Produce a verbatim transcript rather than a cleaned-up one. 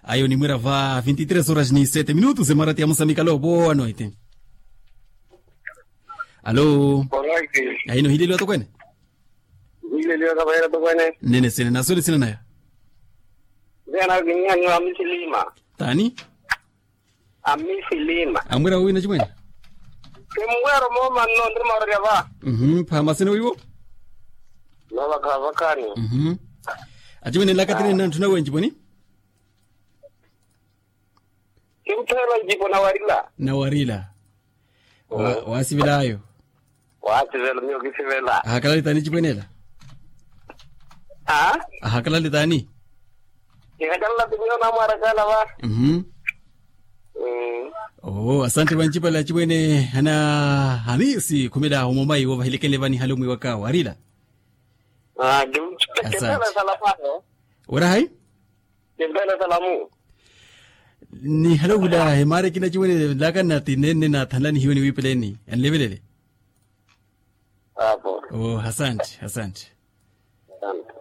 Ayo onimwira va vinti tres horas ni sete minutos emarati ya musamikalo vowa noite. Alo. Ahino hileliwa tokwene. Hileliwa kavayera tokwene. Nene sene naswele sina naya. Zena vinyanyo amisilima. Tani? Amisilima. Amwira wina chimwene. Kimwero moma no ndiri maorya va. Mhm. Phama sene wiwo. Novakhavakani. Mhm. Achimwene lakatine na nthuna wenji poni. Kimphela njipo nawarila. Nawarila. Wa- wasivelayo. Wasivela miyo kisivela. Ahakalalita ni chipwenela. A. Ahakalalita ni. Ihakalala timiyo namwarakala va. Mhm. Mm. Oh, asante vanchipale achipwene ana hamisi khumela humomai wovahilekele vani halo mwiwaka warila. Ah, kim- Asante. Kimphela salapano. Wera hai? Kimpela salamu. Nihale ohula hemaare kina chiwene laka nati nene nathanla nihiwe niwipeleni anlevelele. Apo. Oh, asante, asante. Asante.